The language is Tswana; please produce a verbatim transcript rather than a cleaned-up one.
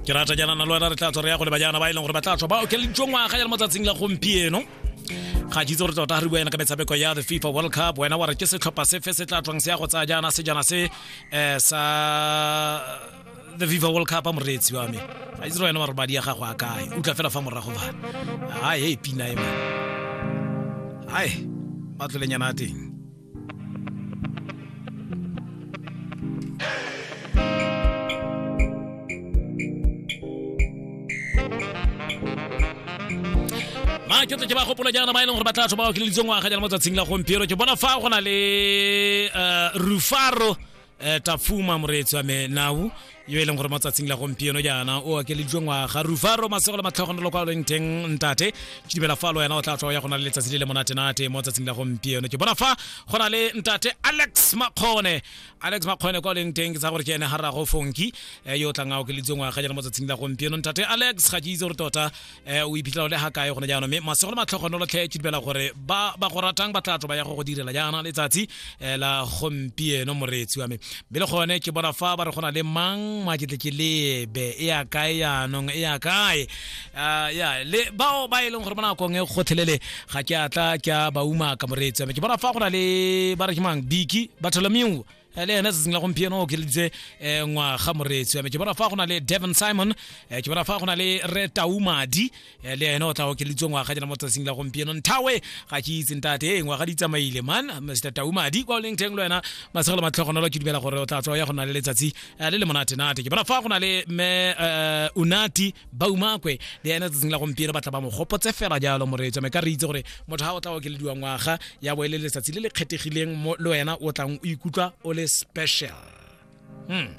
Ke rata jaana na le wena re tla tswa re ya go leba jaana ba e leng gore ba tla tswa ba okeleditswe ngwaga ya mo tsatsing la gompieno. Ga ke itse gore tota re bua ena ka metshameko ya the FIFA World Cup, wena wa re ke setlhopha sefe se tla tswang se ya go tsaya jaana sejana se um sa the FIFA World Cup a moreetsi wa me. Ga itse gore wena wa re madi a gago a kae, utlwa fela fa morago fa ai e pina e man ai matlolenyana a teng. Ma ke tle ke ba gopola jaana ba e leng gore ba tla tswa ba okeleditswe ngwaga jaana mo tsatsing la gompieno. Ke bona fa go na le uh, Rufaro eh, Tafuma moreetsi wa me nau yo e leng gore mo tsatsing la gompieno jaana o okeleditswe ngwaga. Rufaro masego le matlhogonolo kwa leng teng ntate, ke dumela fa le wena o tla tswa ya go na le letsatsi le le monatenate mo tsatsing la gompieno. Ke bona fa go na le ntate Alex Makgone, Alex Makgone kwa leng teng ke tsa gore ke ene ga rrago Fonki yo o tlang a okeleditswe ngwaga jaana mo tsatsing la gompieno. Ntate Alex ga ke itse gore tota o iphitlhela o le ga kae gone jaanong, mme masego le matlhogonolo tlhe ke dumela gore ba ba go ratang ba tla tswa ba ya go go direla jaana letsatsi la gompieno moreetsi wa me. Mme le gone ke bona fa ba re go na le mang ma ke tle ke lebe e ya kae jaanong e ya kae ya le bao ba e leng gore mo nakong e gotlhelele ga ke a tla ke a ba umaka moreetsi wa me. Ke bona fa go na le ba re ke mang Biki Bartholomew le ene tsatsing la gompieno o okeleditse ngwaga moreetsi wa me. Ke bona fa go na le Devon Simon, ke bona fa go na le Re Taumadi le ene o tla okeleditswe ngwaga jaana mo tsatsing la gompieno. Nthawe ga ke itse ntate e ngwaga di tsamaile man Mister Taumadi kwa o leng teng le wena masego le matlhogonolo ke dumela gore o tla tswa ya go na le letsatsi le le monatenate. Ke bona fa go na le mme Unati Baumakwe le ene tsatsing la gompieno ba tla ba mo gopotse fela jalo moreetsi wa me. Ka re itse gore motho ha o tla okelediwa ngwaga ya bo e le letsatsi le le kgethegileng mo le wena o tlang o ikutlwa o le special. Hmm.